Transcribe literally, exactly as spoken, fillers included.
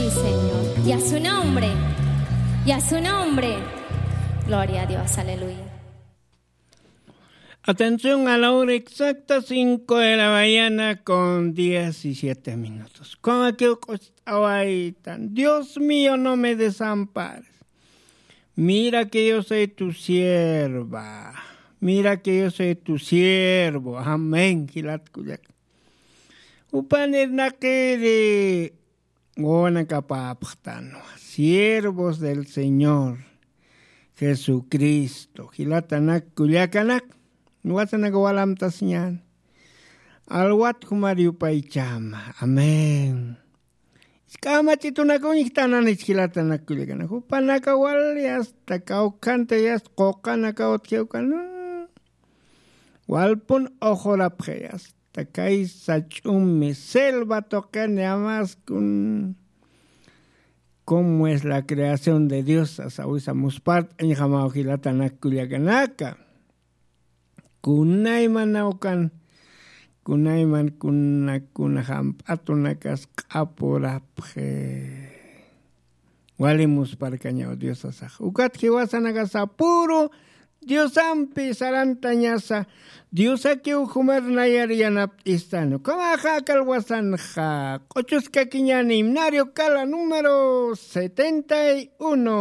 Señor. Y a su nombre. Y a su nombre. Gloria a Dios. Aleluya. Atención, a la hora exacta, cinco de la mañana con diecisiete minutos. Con aquel costawaitan, Dios mío, no me desampares. Mira que yo soy tu sierva. Mira que yo soy tu siervo. Amén. Jilat kullak. Upanir naqiri Wanakapapxtanwa, siervos del Señor Jesucristo. Jilatanak kullakanak, wasanaka walamtasiñan. Alwat jumar yupaychama. Amén. Isk'amachitunak uñjtananich jilatanak kullakanak. Jupanaka wali hasta kawkhanta yasta quqanaka utjiwkan. Walpun oqurapxi hasta kay sach'umi selva tuqini amaskun. Cómo es la creación de Dios, asawisa muspart'añjamaw jilatanak kullakanaka. Kunaymanawkan, kunayman kuna, kuna jamp'atunakas q'apurapxi. Wali musparkañaw Diosasax. Ukat jiwasanakasa puro Diosampi sarantañasa, Diosakiw jumar nayar yanapt'istani. Ukhamaxa aka alwasanxa q'uchuskakiñäni, himnario kala número setenta y uno.